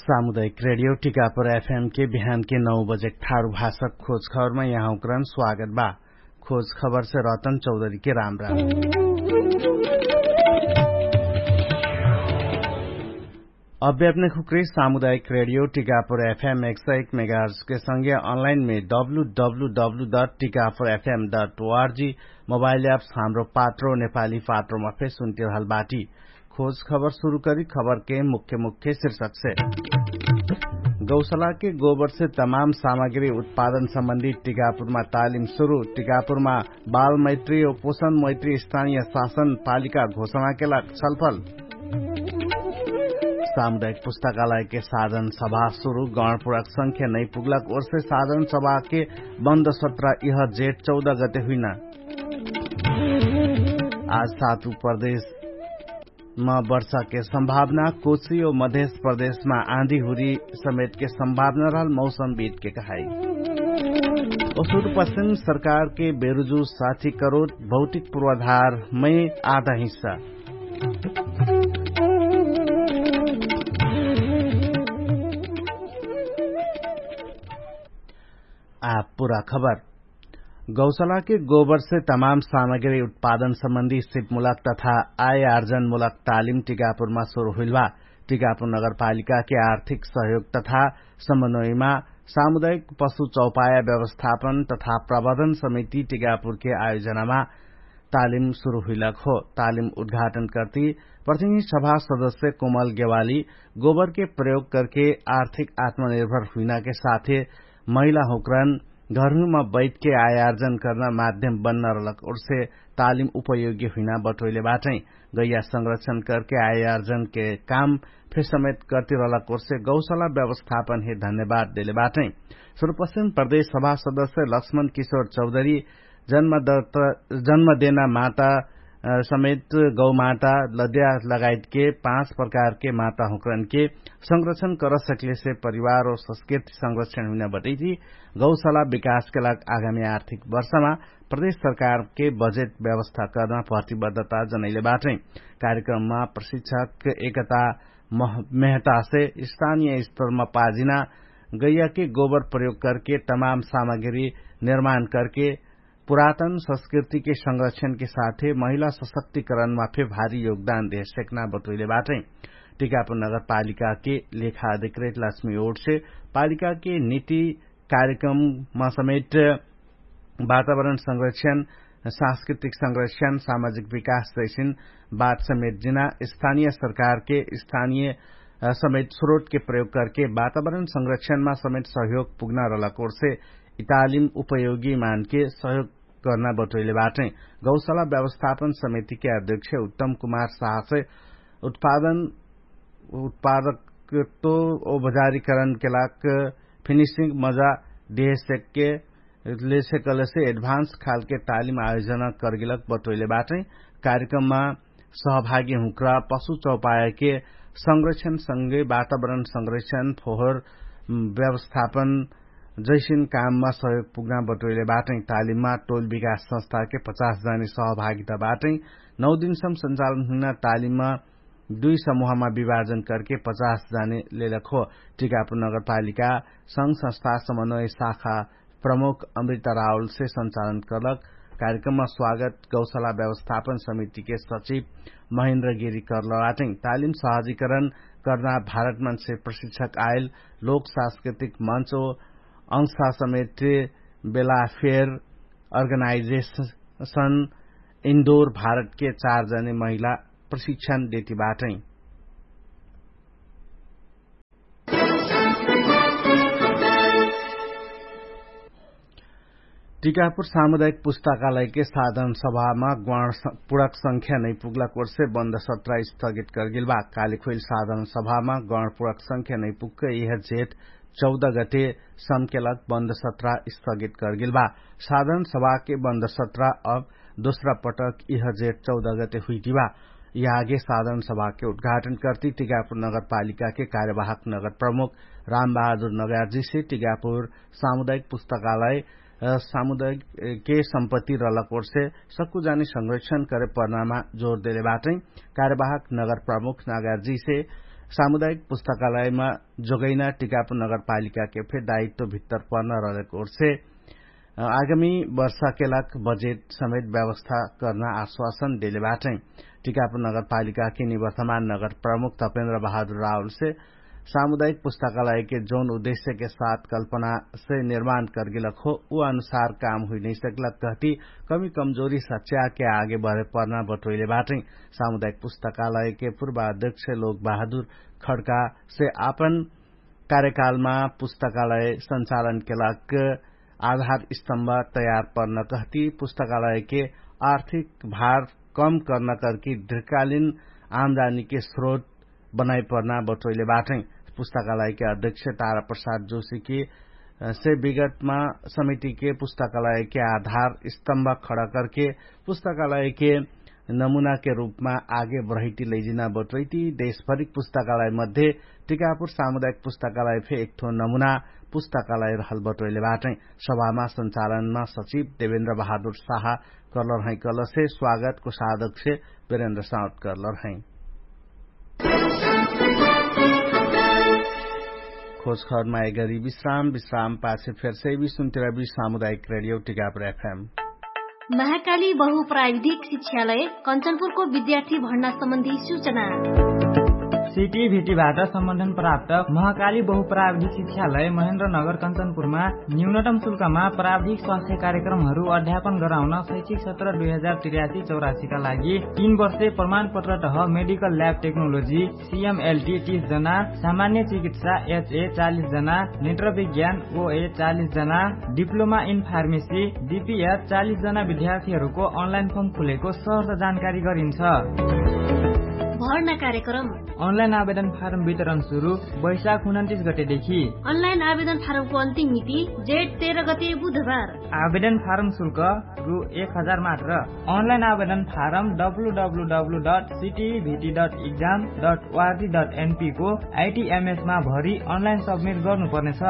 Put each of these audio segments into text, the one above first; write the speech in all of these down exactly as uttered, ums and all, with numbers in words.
सामुदायिक रेडियो टिकापुर एफएम के बिहान के नौ बजे ठारु भाषक खोज खबरमा यहाँ उक्रान स्वागत बा। खोज खबर से रतन चौधरी के राम राम। अभ्यापने खुक्री सामुदायिक रेडियो टिकापुर एफएम एक सय एक मेगाहर्ज के संगे अनलाइन मे W W W dot Tikapur FM dot ORG mobile apps Hamro Patro नेपाली पात्रोमा फेर सुन्तिरहल बाटी। खोज खबर सुरु करी खबर के मुख्य मुख्य शीर्षक से। गौसला के गोबर से तमाम सामग्री उत्पादन सम्बन्धी टिकापुरमा तालिम सुरु। टिकापुरमा बाल मैत्री और पोषण मैत्री स्थानीय शासन पालिका घोषणा के लाग छलफल। सामुदायिक पुस्तकालय के साधन सभा सुरु। गणपुरक संख्या नै पुगलक ओर से साधन सभा के बन्द सत्र यह जेठ चौध गते हुइना। आज सातु प्रदेश म वर्षा के सम्भावना। कोशी और मधेश प्रदेश म आँधी हुरी समेत के सम्भावना रहल मौसम बीत के कहाई। और सुरु पश्चिम सरकार के बेरुजु साथी करोड भौतिक पूर्वाधार मै आधा हिस्सा। आ पुरा खबर। गौसला के गोबर से तमाम सामग्री उत्पादन सम्बन्धी सिपमुलक तथा आय आर्जनमुलक तालिम टिकापुरमा सुरु हुइल बा। टिकापुर नगरपालिका के आर्थिक सहयोग तथा समन्वयमा सामुदायिक पशु चौपाया व्यवस्थापन तथा प्रबन्धन समिति टिकापुर के आयोजनामा तालिम सुरु हुइलक हो। तालिम उद्घाटन कर्ति प्रतिनिधि सभा सदस्य कोमल गेवाली गोबर के प्रयोग करके आर्थिक आत्मनिर्भर हुइना के साथे महिला हुक्रन घरहुमा बैठके आयार्जन कर्ना माध्यम बन्न रहलक ओर्से तालिम उपयोगी हुइना बटोइले बाटै। गैया संरक्षण करके आयार्जन के काम फेर समेत कर्ति रहलक ओर्से गौसला व्यवस्थापन हे धन्यवाद देले बाटै। सुरुपश्चिम प्रदेश सभा सदस्य लक्ष्मण किशोर चौधरी जन्म देना माता समेत गौमाता लद्या लगायतके पाँच प्रकारके माता हुक्रनके संरक्षण करसकलेसे परिवार और संस्कृति संरक्षण हुइना बटैती गौसला विकासके लाग आगामी आर्थिक वर्षमा प्रदेश सरकारके बजेट व्यवस्था कर्ना प्रतिबद्धता जनैले बाटै। कार्यक्रममा प्रशिक्षक एकता मेहतासे स्थानीय स्तरमा पाजिना गैयाके गोबर प्रयोग करके तमाम सामग्री निर्माण करके पुरातन संस्कृतिके संरक्षणके साथे महिला सशक्तिकरणमा फे भारी योगदान देहेसेक्ना बटोइले बाटै। टिकापुर नगरपालिकाके लेखा अधिकृत लक्ष्मी ओटसे पालिकाके नीति कार्यक्रममा समेट वातावरण संरक्षण, सांस्कृतिक संरक्षण, सामाजिक विकास जैसिन बात समेट जिना स्थानीय सरकारके स्थानीय समेट स्रोटके प्रयोग करके वातावरण संरक्षणमा समेट सहयोग पुग्ना रहलक ओर्से इतालिम उपयोगी मानके सहयोग कर्ना बटोइले बाटै। गौसला व्यवस्थापन समितिके अध्यक्ष उत्तम कुमार साहसे उत्पादन उत्पादकत्व औपचारीकरणके लाग फिनिशिंग मजा देहेसेक्के लेसेकलेसे एडभान्स खालके तालिम आयोजना कर्गिलक बटोइले बाटै। कार्यक्रममा सहभागी हुँक्रा पशु चौपायके संरक्षण संगै वातावरण संरक्षण फोहर व्यवस्थापन जैसिन काममा सहयोग पुग्ना बटोइले बाटै। तालिममा टोल विकास संस्थाके पचास जाने सहभागिता बाटै। नौ दिनसम संचालन हुइना तालिममा दुई समूहमा विभाजन करके पचास जाने लेलक हो। टिकापुर नगरपालिका संग संस्था समन्वय शाखा प्रमुख अमृता राहुलसे संचालन कर्लक। कार्यक्रममा स्वागत गौसला व्यवस्थापन समितिके सचिव महेन्द्र गिरी कर्ल बाटै। तालिम सहजीकरण कर्ना भारतमनसे प्रशिक्षक आयल लोक सांस्कृतिक मञ्च ओ अंशा समेत बेला फेर अर्गनाइजेशन इन्दोर भारतके चार जने महिला प्रशिक्षण देति बाटै। टिकापुर सामुदायिक पुस्तकालयके साधन सभामा गण पुडक संख्या नै पुग्लक ओर्से बन्द सत्र स्थगित कर्गिल बा। कालिखोइल साधन सभामा गण पुडक संख्या नै पुग्क इह जेठ चौध गते सम्केलक बन्द सत्र स्थगित कर्गिल बा। साधन सभाके बन्द सत्र अब दोस्रा पटक इह जेठ चौध गते हुइटिबा। यहाँके साधन सभाके उद्घाटन कर्ति टिकापुर नगरपालिकाके कार्यवाहक नगर प्रमुख रामबहादुर नगरजीसे टिकापुर सामुदायिक पुस्तकालय सामुदायिके सम्पत्ति रहलक ओर्से सक्कु जानी संरक्षण करे पर्नामा जोर देले बाटै। कार्यवाहक नगर प्रमुख नगरजीसे सामुदायिक पुस्तकालयमा जोगैना टिकापुर नगरपालिकाके फे दायित्व भित्तर पर्न रहलेक ओर्से आगामी वर्षाके लाग बजेट समेत व्यवस्था कर्ना आश्वासन देले बाटै। टिकापुर नगरपालिकाके निवर्तमान नगर प्रमुख तपेन्द्र बहादुर राहुलसे सामुदायिक पुस्तकालयके जौन उद्देश्यके साथ कल्पनासे निर्माण कर्गेलक हो उ अनुसार काम हुइनैसक्लक कहती कमी कमजोरी सच्याके आगे बढे पर्ना बटोइले बाटै। सामुदायिक पुस्तकालयके पूर्वाध्यक्ष लोक बहादुर खड्कासे आपन कार्यकालमा पुस्तकालय सञ्चालनके लाग आधार स्तम्भ तयार पर्न कहती पुस्तकालयके आर्थिक भार कम कर्न कर्की दृकालिन आमदानीके स्रोत बनाइ पर्ना बटोइले बाटै। पुस्तकालयके अध्यक्ष तारा प्रसाद जोशीके से विगतमा समितिके पुस्तकालयके आधार स्तम्भ खडा कर्के पुस्तकालयके नमुनाके रूपमा आगे बढैती लैजिना बटोइती देशभरिक पुस्तकालय मध्ये टिकापुर सामुदायिक पुस्तकालय फे एकठो नमुना पुस्तकालय रहल बटोइले बाटै। सभामा सञ्चालनमा सचिव देवेन्द्र बहादुर साहा कर्लर है कर्लसे स्वागतको साधकसे बेरेन्द्र साउत कर्लर है। खोजखबरमा एगरी विश्राम विश्राम पाछे फेरसे विश्वन्तिरवी सामुदायिक रेडियो टिकापुर एफएम। महाकाली बहु प्राविधिक शिक्षालय कञ्चनपुरको विद्यार्थी भण्डा सम्बन्धी सूचना। सिटी भिटी भाटा सम्बन्धन प्राप्त महाकाली बहु प्राविधिक शिक्षालय महेन्द्र नगर कञ्चनपुरमा न्यूनतम शुल्कमा प्राविधिक स्वास्थ्य कार्यक्रमहरू अध्यापन गराउन शैक्षिक सत्र दुई हजार तिरासी चौरासीका लागि तीन वर्षे प्रमाणपत्र तह मेडिकल ल्याब टेक्नोलोजी सिएमएलटी तीस जना, सामान्य चिकित्सा एचए चालिस जना, नेत्र विज्ञान ओए चालिस जना, डिप्लोमा इन फार्मेसी डिपिएच चालिस जना विद्यार्थीहरूको अनलाइन फर्म खुलेको सहर्ष जानकारी गरिन्छ। भर्ना कार्यक्रम। अनलाइन आवेदन फारम वितरण सुरु वैशाख उन्तिस गतेदेखि। अनलाइन आवेदन फारमको अन्तिम मिति जेठ तेह्र गते बुधबार। आवेदन फारम शुल्क रु एक हजार मात्र। अनलाइन आवेदन फारम डब्लुडब्लुडब्लु डट सिटिभिटी डट इक्जाम डट ओआरजी डट एनपीको आइटिएमएसमा भरि अनलाइन सब्मिट गर्नुपर्नेछ।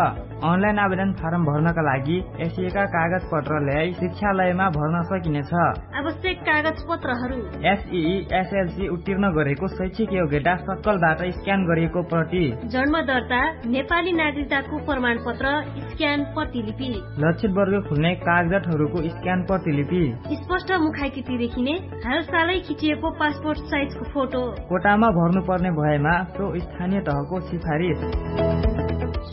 अनलाइन आवेदन फारम भर्नका लागि एसिएका कागजपत्र ल्याइ शिक्षालयमा भर्न सकिनेछ। आवश्यक कागजपत्रहरू। एसई एसएलसी उत्तीर्ण गरेको शैक्षिक योग्यता सक्कलबाट स्क्यान गरिएको प्रति। जन्म दर्ता नेपाली नागरिकताको प्रमाणपत्र स्क्यान प्रतिलिपि। लक्षित वर्ग खुल्ने कागजातहरूको स्क्यान प्रतिलिपि। स्पष्ट मुखाइकिति देखिने हालसालै खिचिएको पासपोर्ट साइजको फोटो। कोटामा भर्नुपर्ने भएमा सो स्थानीय तहको सिफारिस।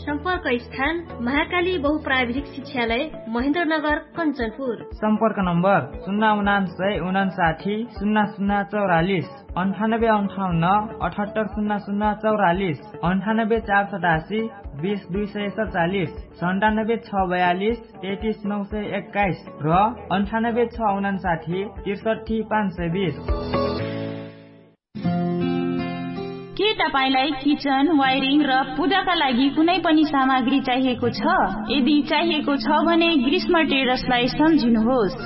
सम्पर्क स्थान महाकाली बहुप्राविधिक शिक्षालय महेन्द्रनगर कञ्चनपुर। सम्पर्क नम्बर सुन्ना उनान्सय उनान्साठी सुन्ना सुन्ना चौरालिस। अन्ठानब्बे अन्ठाउन्न अठहत्तर सुन्ना सुन्ना चौरालिस। अन्ठानब्बे चार सतासी बिस दुई सय सचालिस। सन्तानब्बे छ बयालिस तेतिस नौ सय एक्काइस र अन्ठानब्बे छ उनान्साठी तिर्सठी पाँच सय बिस। के तपाईंलाई किचन वायरिङ र पूजाका लागि कुनै पनि सामग्री चाहिएको छ? यदि चाहिएको छ भने ग्रीष्म ट्रेडर्सलाई सम्झिनुहोस्।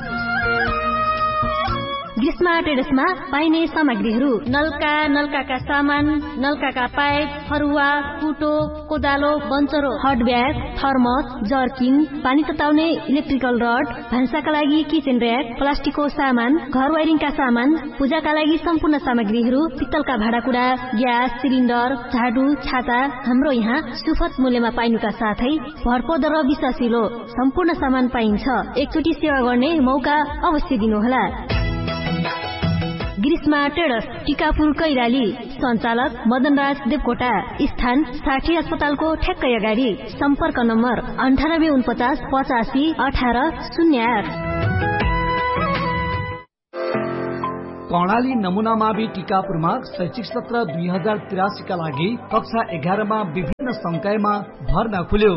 ग्रीष्म ट्रेडर्समा पाइने सामग्रीहरू नल्का नल्काका सामान, नल्काका पाइप, फरुवा, कुटो, कोदालो, बन्चरो, हट ब्याग, थर्मस, जर्किन, पानी तताउने इलेक्ट्रिकल रड, भान्साका लागि किचेन र्याक, प्लास्टिकको सामान, घर वाइरिङका सामान, पूजाका लागि सम्पूर्ण सामग्रीहरू, पित्तलका भाँडाकुडा, ग्यास सिलिन्डर, झाडु, छाता, हाम्रो यहाँ सुफत मूल्यमा पाइनुका साथै भरपर्दो र विश्वासिलो सम्पूर्ण सामान पाइन्छ। एकचोटि सेवा गर्ने मौका अवश्य दिनुहोला। ग्रीष्मा ट्रेडर्स, टिकापुर कैलाली। सञ्चालक मदनराज देवकोटा। स्थान साठी अस्पतालको ठ्याक्कै अगाडि। सम्पर्क नम्बर अन्ठानब्बे उनपचास पचासी अठार शून्य आठ। कर्णाली नमुनामावि टिकापुरमा शैक्षिक सत्र दुई हजार तिरासीका लागि कक्षा एघारमा विभिन्न संकायमा भर्ना खुल्यो।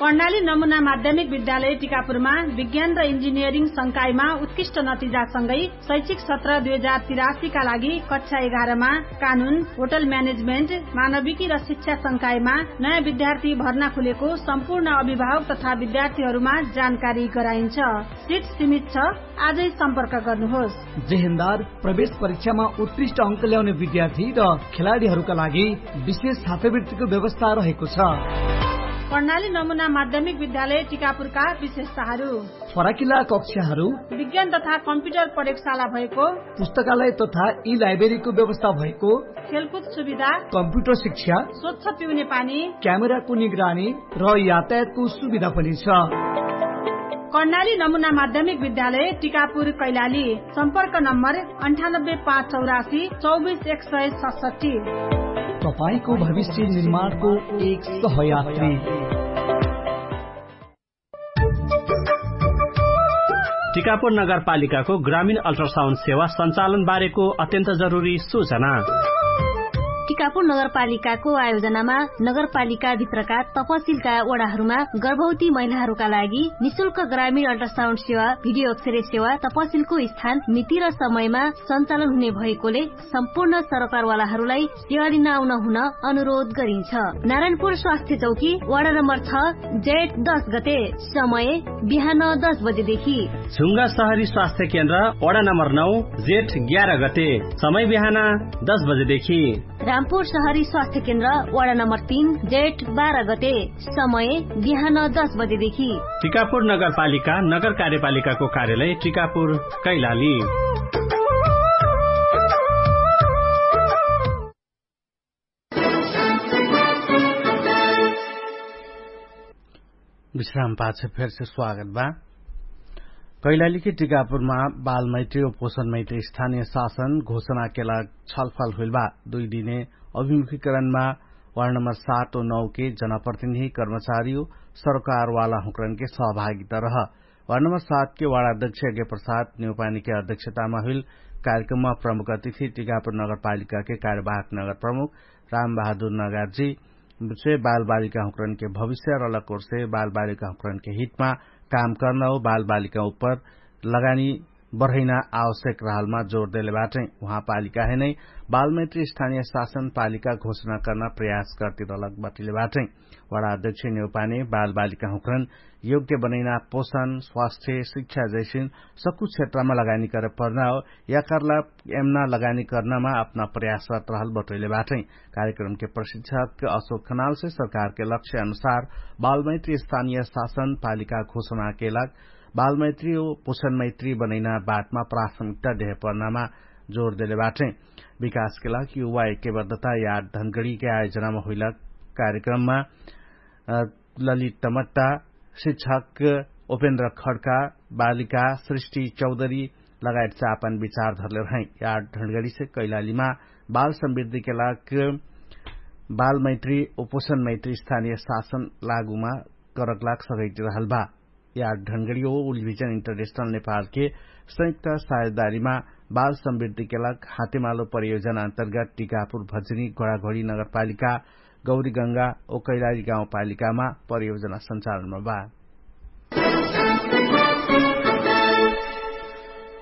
कर्णाली नमुना माध्यमिक विद्यालय टिकापुरमा विज्ञान र इन्जिनियरिङ संकायमा उत्कृष्ट नतिजासँगै शैक्षिक सत्र दुई हजार तिरासीका लागि कक्षा एघारमा कानुन, होटल म्यानेजमेन्ट, मानविकी र शिक्षा संकायमा नयाँ विद्यार्थी भर्ना खुलेको सम्पूर्ण अभिभावक तथा विद्यार्थीहरूमा जानकारी गराइन्छ। सिट सीमित छ। आजै सम्पर्क गर्नुहोस्। जेहेन्दार प्रवेश परीक्षामा उत्कृष्ट अङ्क ल्याउने विद्यार्थी र खेलाडीहरूका लागि विशेष छात्रवृत्तिको व्यवस्था रहेको छ। कर्णाली नमुना माध्यमिक विद्यालय टिकापुरका विशेषताहरू। फराकिला कक्षाहरू। विज्ञान तथा कम्प्युटर प्रयोगशाला भएको। पुस्तकालय तथा ई लाइब्रेरीको व्यवस्था भएको। खेलकुद सुविधा। कम्प्युटर शिक्षा। स्वच्छ पिउने पानी। क्यामेराको निगरानी र यातायातको सुविधा पनि छ। कर्णाली नमुना माध्यमिक विद्यालय टिकापुर कैलाली। सम्पर्क नम्बर अन्ठानब्बे पाँच चौरासी चौबिस एक सय सतसट्ठी। तपाईंको भविष्य निर्माणको एक सहयात्री। टिकापुर नगरपालिकाको ग्रामीण अल्ट्रासाउन्ड सेवा सञ्चालन बारेको अत्यन्त जरुरी सूचना। टिकापुर नगरपालिकाको आयोजनामा नगरपालिकाभित्रका तपसिलका वडाहरूमा गर्भवती महिलाहरूका लागि निशुल्क ग्रामीण अल्ट्रासाउन्ड सेवा, भिडियो अक्षरे सेवा तपसिलको स्थान मिति र समयमा सञ्चालन हुने भएकोले सम्पूर्ण सरकारवालाहरूलाई सेवा लिन आउन हुन अनुरोध गरिन्छ। नारायणपुर स्वास्थ्य चौकी वडा नम्बर छ, जेठ दस गते, समय बिहान दस बजेदेखि। झुङ्गा सहरी स्वास्थ्य केन्द्र वडा नम्बर नौ, जेठ ग्यार गते, समय बिहान दस बजेदेखि। रामपुर सहरी स्वास्थ्य केन्द्र वडा नम्बर तीन, जेठ बाह्र गते, समय बिहान दस बजेदेखि। टिकापुर नगरपालिका नगर कार्यपालिकाको कार्यालय टिकापुर कैलाली। विश्राम पाछ फेरसे स्वागत बा। कैलालीके टिकापुरमा बालमैत्री ओ पोषणमैत्री स्थानीय शासन घोषणाके लाग छलफल हुइल बा। दुई दिने अभिमुखीकरणमा वार्ड नम्बर सात ओ नौ के जनप्रतिनिधि कर्मचारी ओ सरकारवाला हुँकरनके सहभागिता रह। वार्ड नम्बर सात के वार्ड अध्यक्ष यज्ञ प्रसाद नेउपानीके अध्यक्षतामा हुइल कार्यक्रममा प्रमुख अतिथि टिकापुर नगरपालिकाके कार्यवाहक नगर प्रमुख रामबहादुर नगारजी से बालबालिका हुँकरनके भविष्य रलक ओर्से बालबालिका हुँकरनके हितमा काम कर्न हो बालबालिका उप्पर लगानी बढैना आवश्यक रहलमा जोर देले बाटै। उहाँ पालिकाहे नै बालमैत्री स्थानीय शासन पालिका घोषणा कर्ना प्रयास कर्ति रलक बटिले बाटै। वडा अध्यक्ष नेउपाने बालबालिका हुँकरन योग्य बनैना पोषण स्वास्थ्य शिक्षा जैसिन सक्कु क्षेत्रमा लगानी करे पर्ना हो। याकर्ला एमना लगानी कर्नामा अपना प्रयासरत रहल बटोइले बाटै। कार्यक्रमके प्रशिक्षक अशोक खनालसे सरकारके लक्ष्य अनुसार बालमैत्री स्थानीय शासन पालिका घोषणाके लाग बालमैत्री ओ पोषणमैत्री बनैना बाटमा प्राथमिकता देहे पर्नामा जोर देले बाटै। विकासके लाग युवा एकेबद्धता याद धनगडीके आयोजनामा हुइला कार्यक्रममा ललित तमट्टा शिक्षक उपेन्द्र खड्का बालिका सृष्टि चौधरी लगायत चापन विचार धरले रहै। यार ढण्गडीसे कैलालीमा बाल समृद्धिके लाग बाल मैत्री ओ पोषण मैत्री स्थानीय शासन लागुमा करक लाग सघैति रहल बा। यार ढण्गडी ओ उलभिजन इन्टरनेशनल नेपालके संयुक्त साझेदारीमा बाल समृद्धिके लाग हातेमालो परियोजना अन्तर्गत टिकापुर भजनी घोडाघोडी नगरपालिका गौरीगङ्गा ओ कैलाली गाउँपालिकामा परियोजना सञ्चालनमा बा।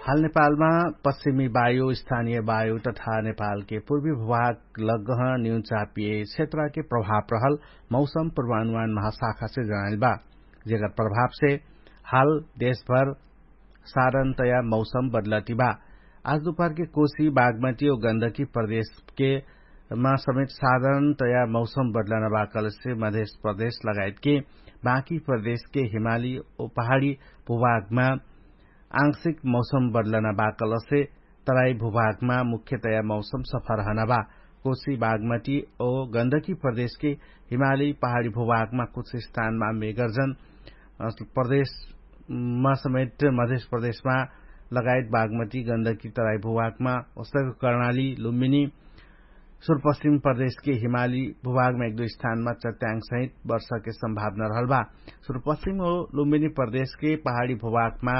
हाल नेपालमा पश्चिमी वायु स्थानीय वायु तथा नेपालके पूर्वी भूभाग लगह न्यून चापिए क्षेत्रके प्रभाव रहल मौसम पूर्वानुमान महाशाखासे जनाइल बा। जेकर प्रभावसे हाल देशभर साधारणतया मौसम बदलति बा। आज दुपहरके कोशी बागमती ओ गन्दकी प्रदेशके मा समेत साधारणतया मौसम बदलना बा कलसे मधेश प्रदेश लगायतके बाँकी प्रदेशके हिमाली ओ पहाडी भूभागमा आंशिक मौसम बदलना बा कलसे तराई भूभागमा मुख्यतया मौसम सफा रहना बा। कोशी बागमती ओ गन्दकी प्रदेशके हिमाली पहाडी भूभागमा कुछ स्थानमा मेगर्जन प्रदेशमा समेत मधेश प्रदेशमा लगायत बागमती गन्दकी तराई भूभागमा ओस्तक कर्णाली लुम्बिनी सुरपश्चिम प्रदेशके हिमाली भूभागमा एक दुई स्थानमा चट्याङ सहित वर्षाके सम्भावना रहल बा। सुरपश्चिम हो लुम्बिनी प्रदेशके पहाडी भूभागमा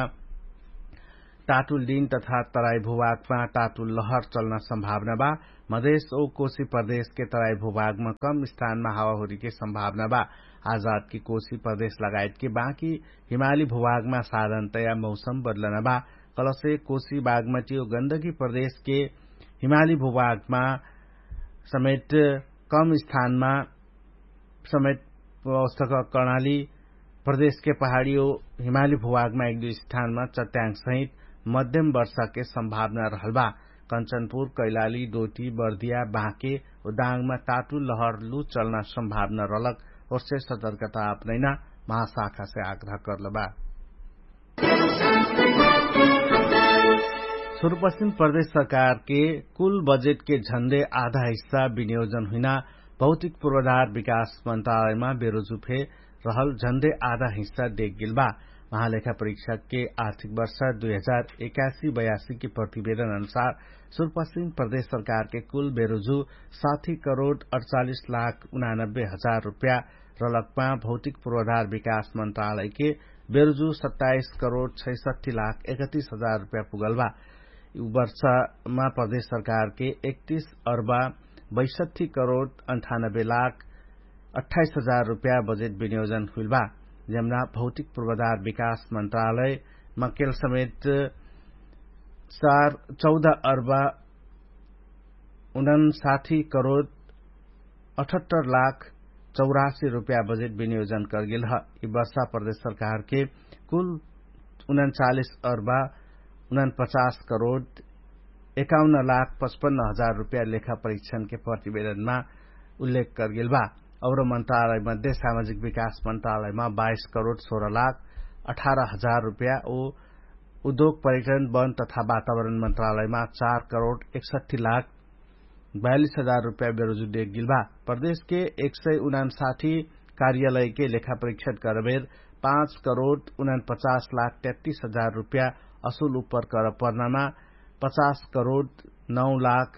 टाटुल दिन तथा तराई भूभागमा टाटुल लहर चल्न सम्भावना बा। मधेश ओ कोशी प्रदेशके तराई भूभागमा कम स्थानमा हावाहुरीके सम्भावना बा। आजादके कोशी प्रदेश लगायतके बाँकी हिमाली भूभागमा साधारणतया मौसम बदलना बा। कलसे कोशी बागमती ओ गन्दगी प्रदेशके हिमाली भूभागमा समेत कम स्थानमा समेत अवस्थक कर्णाली प्रदेशके पहाडी ओ हिमाली भूभागमा एक दुई स्थानमा चट्याङ सहित मध्यम वर्षाके सम्भावना रहल बा। कञ्चनपुर कैलाली डोटी बर्दिया बाँके ओ दाङमा ताटु लहर लु चल्ना सम्भावना रहलक ओर्से सतर्कता अपनैना महाशाखासे आग्रह कर्लबा। सुरुपश्चिम प्रदेश सरकारके कुल बजेटके झन्डे आधा हिस्सा विनियोजन हुइना भौतिक पूर्वाधार विकास मन्त्रालयमा बेरुजु फे रहल झन्डे आधा हिस्सा देख गेलबा। महालेखा परीक्षकके आर्थिक वर्ष दुई हजार एकासी बयासीके प्रतिवेदन अनुसार सुरुपश्चिम प्रदेश सरकारके कुल बेरुजु साठी करोड अडचालिस लाख उनानब्बे हजार रुपया रलकमा भौतिक पूर्वाधार विकास मन्त्रालयके बेरुजु सत्ताइस करोड छैसठी लाख एकतिस हजार रुपया पुगलबा। उ वर्षमा प्रदेश सरकारके एकतिस अर्बा बैसठी करोड अन्ठानब्बे लाख अठाइस हजार रुपया बजेट विनियोजन हुइलबा। जम्ना भौतिक पूर्वाधार विकास मन्त्रालयमा केल समेत चार चौध अर्बा उनन साठी करोड अठहत्तर लाख चौरासी रुपया बजेट विनियोजन करगेल ह। यि वर्षा प्रदेश सरकारके कुल उनन चालिस अर्बा उनन पचास करोड एकाउन्न लाख पचपन्न हजार रुपया लेखा परीक्षणके प्रतिवेदनमा उल्लेख करगेल बा। और मन्त्रालय मध्ये सामाजिक विकास मन्त्रालयमा बाइस करोड सोह्र लाख अठार हजार रुपया उ उद्योग पर्यटन वन तथा वातावरण मन्त्रालयमा चार करोड एकसठी लाख बयालिस हजार रुपया बेरुजु देख गेल बा। प्रदेशके एक सय उनानसाठी कार्यालयके लेखा परीक्षण करबेर पाँच करोड उनान पचास लाख तेत्तिस हजार रुपया असुल उपर कर पर्नामा पचास करोड नौ लाख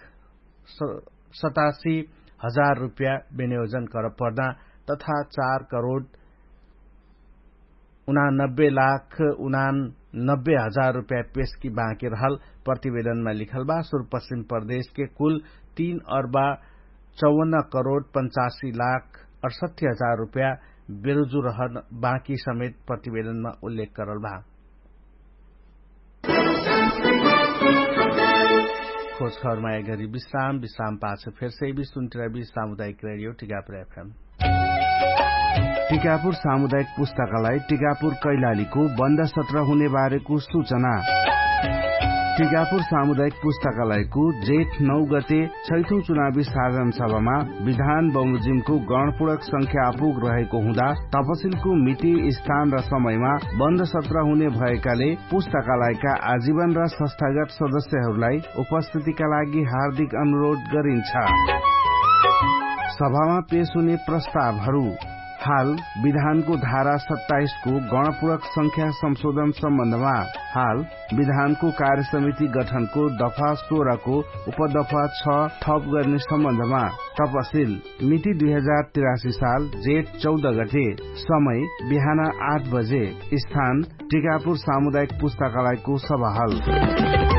सतासी हजार रुपया विनियोजन कर पर्ना तथा चार करोड उनानब्बे लाख उनानब्बे हजार रुपया पेशकी बाँकी रहल प्रतिवेदनमा लिखल बा। सुरुपश्चिम प्रदेशके कुल तीन अर्बा चौवन्न करोड पचासी लाख अठसठी हजार रुपया बेरुजु रहन बाँकी समेत प्रतिवेदनमा उल्लेख करल बा। खोज खबरमा एघरी विश्राम विश्राम पाछ फेरसे बिसुन्टिरा बिस सामुदायिक रेडियो टिकापुर एफएम। टिकापुर सामुदायिक पुस्तकालय टिकापुर कैलालीको बन्द सत्र हुने बारेको सुचना। टिकापुर सामुदायिक पुस्तकालयको जेठ नौ गते छैठौं चुनावी साधन सभामा विधान बमोजिमको गणपुडक संख्या आपुग रहेको हुँदा तपसिलको मिति स्थान र समयमा बन्द सत्र हुने भएकाले पुस्तकालयका आजीवन र संस्थागत सदस्यहरूलाई उपस्थितिका लागि हार्दिक अनुरोध गरिन्छ। सभामा पेश हुने प्रस्तावहरू। हाल विधानको धारा सत्ताइसको गणपुरक संख्या संशोधन सम्बन्धमा हाल विधानको कार्यसमिति गठनको दफा सोह्रको उपदफा छ थप गर्ने सम्बन्धमा तपसिल मिति दुई हजार तिरासी साल जेठ चौध गते। समय बिहान आठ बजे। स्थान टिकापुर सामुदायिक पुस्तकालयको सभाहल।